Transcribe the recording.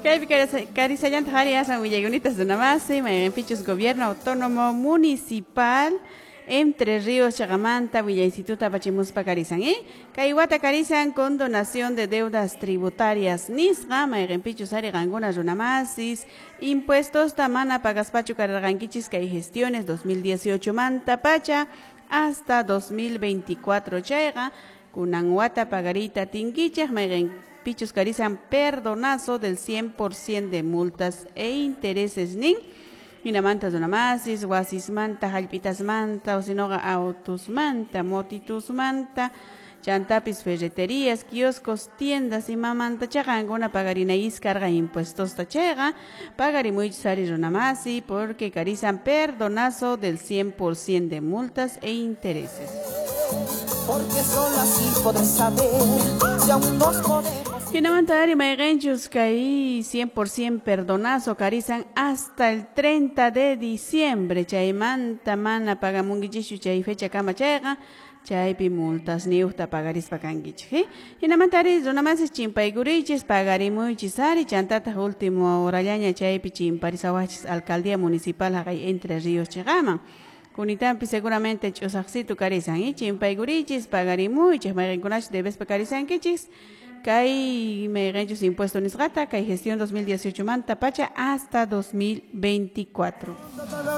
Kaypi karisallantaq ari asan willayunitas runamasi, mayqinpichus Gobierno Autónomo Municipal Entre Ríos chaqamanta willaysituta apachimuspa karisan, ¿eh? Kay wata karisan condonación de deudas tributarias nisqa, mayqinpichus ari qankuna runamasis impuestosta mana pagaspachu kararqankichis kay gestiones 2018 manta pacha hasta 2024 chayqa kunan wata pagarita tinkichaq mayqin pichus karisan perdonazo del 100% de multas e intereses nin. Hinamanta runamasis, wasismanta, hallp'itasmanta, o sinoqa autusmanta, motitusmanta, chantapis ferreterías, kioscos, tiendas imamanta chaqankuna pagarinayis karqa impuestosta chayqa pagarimuychis ari runamasi porque karisan perdonazo del 100% de multas e intereses. Porque solo así podré saber si aún nos podemos. Hinamanta ari mayqinchus kay 100% perdonazo karisan hasta el 30 de diciembre chaymanta mana pagamunkichischu chay fecha kama chayqa chaypi multas niuqta pagarispa kankichik, ¿eh? Hinamanta ari runamasis chimpaykurichis pagarimuychis ari chantataq último horallaña chaypi chimparisawachis alcaldía municipal haqay Entre Ríos chiqaman. Kunitampi seguramente ch'usaqsitu karisan, ¿eh? Chimpaykurichis pagarimuychis mayqinkunachus debespa karisankichis kay mayqinchus impuesto nisqata kay gestión 2018 manta pacha hasta 2024.